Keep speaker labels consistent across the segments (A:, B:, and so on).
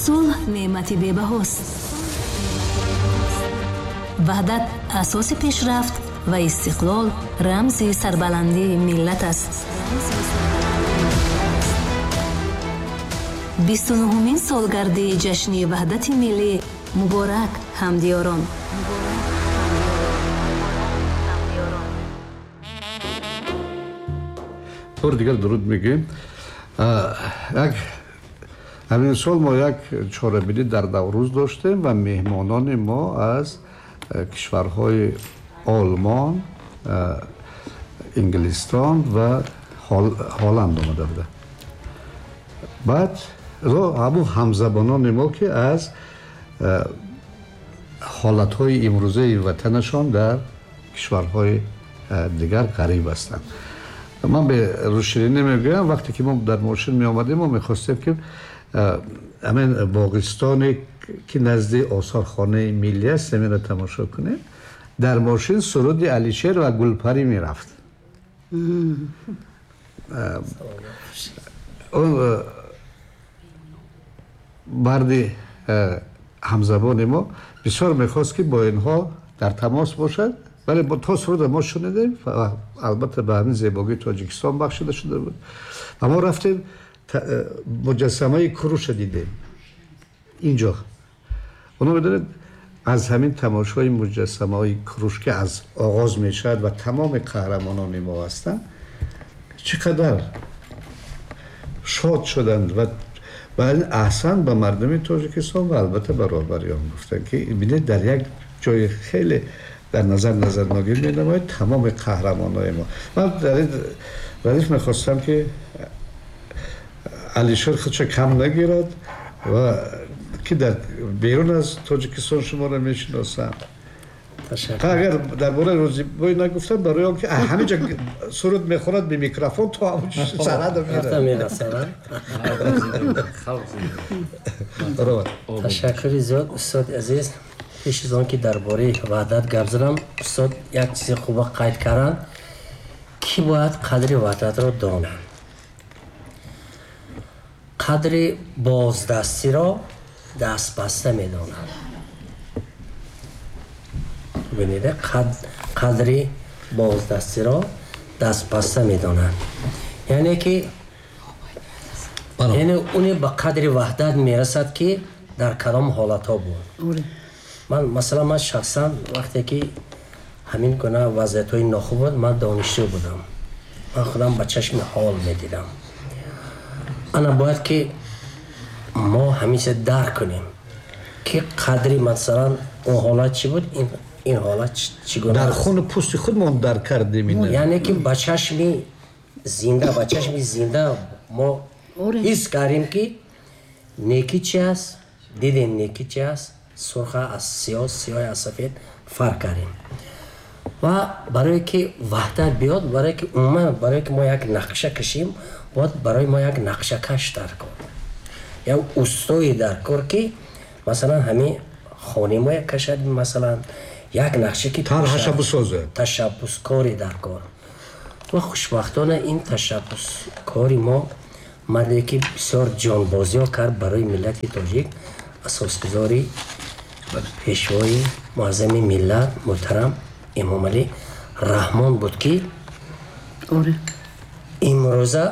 A: Сулҳ неъмати бебаҳост. Ваҳдат асоси пешрафт ва истиқлол рамзи сарбаландии миллат аст. 29-умин солгарди ҷашни Ваҳдати миллӣ муборак, ҳамдиёрон!
B: Бор дигар дуруд мегӯем. Як ҳамин сол мо як чорабинӣ дар Наврӯз доштем ва меҳмонони мо аз кишварҳои Олмон, Инглистон ва Ҳолланд омада буданд. Баъд ҳамун ҳамзабонони мо, ки аз ҳолатҳои имрӯзаи ватанашон дар кишварҳои дигар ғариб ҳастанд. Ман ба рӯширинӣ мегӯям, вақте ки мо дар мошин меомадем, мо мехостем, ки ҳамин боғистоне, ки назди осорхонаи миллӣ аст, ҳаминро тамошо кунем. Дар мошин суруди Алишер ва Гулпарӣ мерафт. Он марди ҳамзабони мо бисёр мехост, ки бо инҳо дар тамос бошад, вале то суруда мо шунидем, албатта ба ҳамин зебогии Тоҷикистон бахшида шуда буд, ва мо рафтем, муҷассамаи Куруша дидем инҷо. Оно медонед, аз ҳамин тамошои муҷассамаҳои Куруш, ки аз оғоз мешавад ва тамоми қаҳрамонони мо ҳастанд, чӣ қадар шод шуданд ва ин аҳсан ба мардуми Тоҷикистон ва албатта ба роҳбариён гуфтанд, ки бинед, дар як ҷои хеле дар назар назарногир менамояд тамоми қаҳрамонои мо. Ман дар ин радиф мехостам, ки Алишер худша кам нагирад ва ки дар берун аз Тоҷикистон шуморо мешиносанд. Агар дар бораи Рӯзибой нагуфтам, барои он ки ҳамин ҷо суруд мехонад бе микрофон, то ҳамон сарҳада
C: мерасад. Ташаккури зиёд, устоди азиз. Пеш аз он ки дар бораи ваҳдат гап занам, устод як чизи хуба қайд карданд, ки бояд қадри ваҳдатро донанд, қадри боздастиро дастбаста медонанд. Бибинед, қадри боздастиро дастбаста медонанд, яъне ки яъне уне ба қадри ваҳдат мерасад, ки дар кадом ҳолатҳо буд. Ман, масалан, ман шахсан вақте ки ҳамин гуна вазъиятҳои нохуб буд, ман донишҷӯ будам, ман худам ба чашми ҳол медидам. Ана бояд ки мо ҳамиша дарк кунем, ки қадри, масалан, он ҳолат чӣ буд, ин ҳолат чӣ гуна.
B: Дар хуну пӯсти худмон дарк кардем.
C: Яъне ки ба чашми зинда мо ҳис кардем, ки некӣ чи аст, дидем некӣ чи аст, сурха аз сиёҳ, сиёҳ аз сафед фарқ кардем. Ва барое ки ваҳдат биёд, барое ки умуман барое ки мо як нақша кашем, бояд барои мо як нақшакаш дар кор, як устое дар кор, ки масалан ҳамин хонаи мо як кашад, масалан, як нақша ки
B: тарҳаша бисозад.
C: Ташаббускори дар кор. Ва хушбахтона ин ташаббускори мо, марде ки бисёр ҷонбозиҳо кард барои миллати тоҷик, асосгузори, пешвои муаззами миллат муҳтарам Эмомалӣ Раҳмон буд, ки имрӯза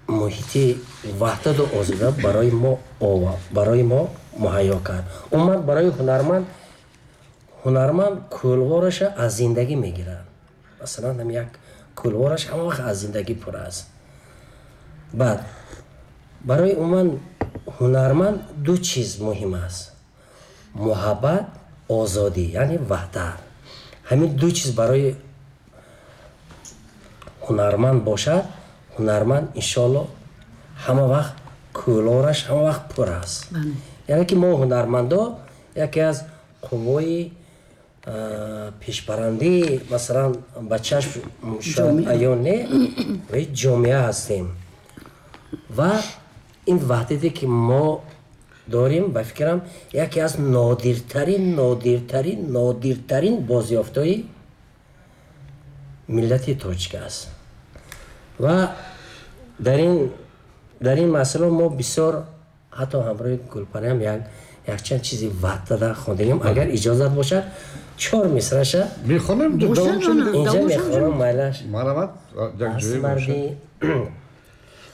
C: муҳити ваҳдату озода барои мо муҳайё кард. Умуман, барои ҳунарманд, ҳунарманд кӯлвораша аз зиндагӣ мегирад. Масалан, ҳам як кӯлвораш ҳама вақт аз зиндагӣ пур аст. Баъд барои умуман ҳунарманд ду чиз муҳим аст: муҳаббат, озодӣ, яъне ваҳдат. Ҳамин ду чиз барои ҳунарманд бошад, ҳунарманд иншоалло ҳама вақт кӯлораш ҳама вақт пур аст. Яъне ки мо ҳунармандо яке аз қуввои пешбарандии, масалан, ба чашм шояд аён не, ҷомеа ҳастем. Ва ин ваҳдате, ки мо дорем, ба фикрам, яке аз нодиртарин, нодиртарин, нодиртарин бозёфтҳои миллати тоҷик аст. Ва дар ин масъала мо бисёр Ҳатто ҳамроҳи Гулпариам якчанд чизи ваҳдата хондагим. Агар иҷозат бошад, чор мисраша
B: мехонем.
C: Инҷа мехонам, майлаш.
B: Марҳамат.
C: Марди.